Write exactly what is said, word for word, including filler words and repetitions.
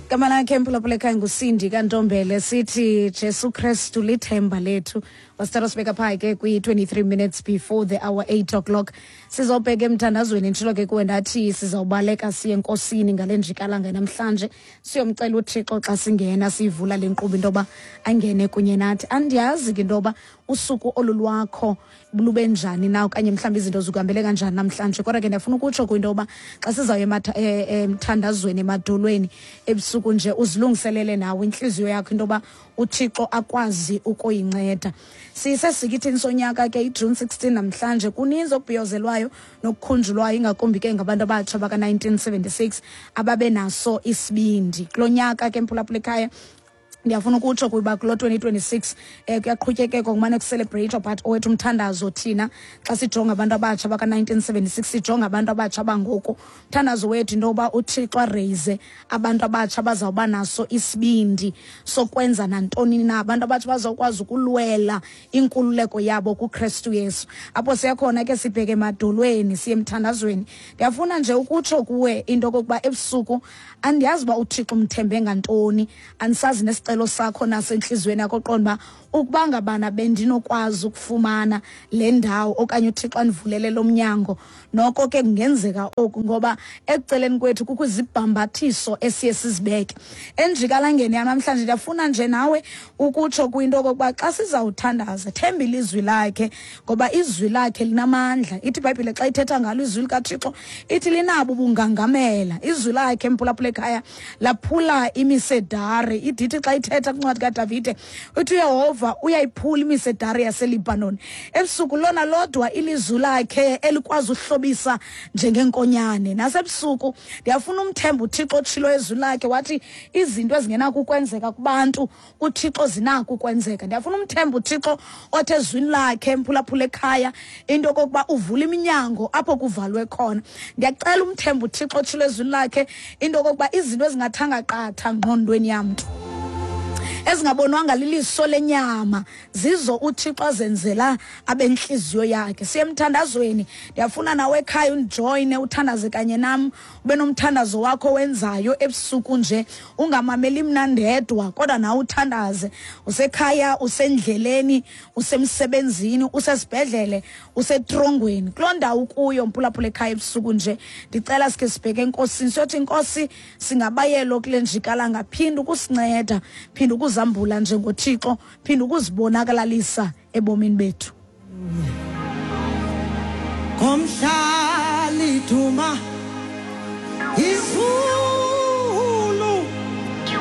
Igama lakhe, mphulaphula ekhaya, nguSindi kaNtombele. Sithi Jesu Kristu lithemba lethu. Wasithatha sibeka phaa ke kwi-twenty-three minutes before the hour, eight o'clock. Sizawubheka emthandazweni. Nditshilo ke kuwe ndathi sizawubaleka siye enkosini ngale njikalanga namhlanje, siyomcela uThixo xa singena siyivula le nkqubo into yoba angene kunye nathi. Andiyazi ke into yoba usuku olu lwakho lube njani na, okanye mhlawumbi izinto zikuhambele kanjani namhlanje, kodwa ke ndiyafuna ukutsho kwinto yoba xa sizawuya emthandazweni emadolweni ebusuku nje, uzilungiselele nawe intliziyo yakho into yoba uThixo akwazi ukuyinceda. Sisesikithini sonyaka ke, iJune sixteen namhlanje. Kuninzi okubhiyozelwayo nokukhunjulwayo, ingakumbi ke ngabantu abatsha baka-nineteen seventy-six ababe naso isibindi kulo nyaka ke, mphulaphula ekhaya. Ndiyafuna ukutsho kuba kulo twenty twenty-six eh kuyaqhutyekekwa kumane kucelebrate, but owethu umthandazo thina xa sijonga abantu abatsha baka-nineteen seventy-six, sijonga abantu abatsha bangoku, umthandazo wethu into yoba uThixo araise abantu abatsha bazawuba naso isibindi sokwenza nantoni na, abantu abatsha bazawukwazi ukulwela inkululeko yabo kuKristu Yesu. Apho siya khona ke, sibheke emadolweni, siye emthandazweni. Ndiyafuna nje ukutsho kuwe into okokuba ebusuku andiyazi uba uThixo umthembe ngantoni, andisazi nesicelo sakho nasentliziyweni yakho, qonda uba ukuba ngabana bendinokwazi ukufumana le ndawo okanye uThixo andivulele lo mnyango, noko ke kungenzeka oku, ngoba ekuceleni kwethu kukho izibhambathiso esiye sizibeke enjikalangeni yanamhlanje. Ndiyafuna nje nawe ukutsho kwinto okokuba xa sizawuthandaza, themba ilizwi lakhe, ngoba izwi lakhe linamandla. Ithi iBhayibhile xa ithetha ngalo izwi likaThixo, ithi linabo ubungangamela. Izwi lakhe, mphulaphula ekhaya, laphula imisedari. Idithi xa ithetha kwincwadi kaDavide, uthi uYehova uyayiphula imisedari yaseLibanon. Ebusuku lona lodwa ilizwi lakhe elikwazi uhlobisa njengenkonyane. Nasebusuku ndiyafuna umthemba uThixo otshilo ezwi lakhe wathi izinto ezingenako ukwenzeka kubantu, kuThixo zinako ukwenzeka. Ndiyafuna umthemba uThixo othe ezwini lakhe, mphulaphula ekhaya, into okokuba uvula iminyango apho kuvalwe khona. Ndiyacela umthemba uThixo otshilo ezwini lakhe into okokuba izinto ezingathanga qatha ngqondweni yamntu, ezingabonwanga liliso lenyama, zizo uThixo azenzela abentliziyo yakhe. Siye emthandazweni. Ndiyafuna nawe ekhaya undijoyine, uthandaze kanye nam, ube nomthandazo wakho wenzayo ebusuku nje. Ungamameli mna ndedwa, kodwa nawe uthandaze usekhaya, usendleleni, usemsebenzini, usesibhedlele, usetrongweni, kuloo ndawo ukuyo, mphulaphula ekhaya. Ebusuku nje ndicela sikhe sibheke enkosini, siyothi, "Inkosi, singabayelo kule njikalanga, phinda ukusinceda, phinda ukuzambula njengoThixo, phinda ukuzibonakalalisa ebomini bethu." Komhla liduma izulu.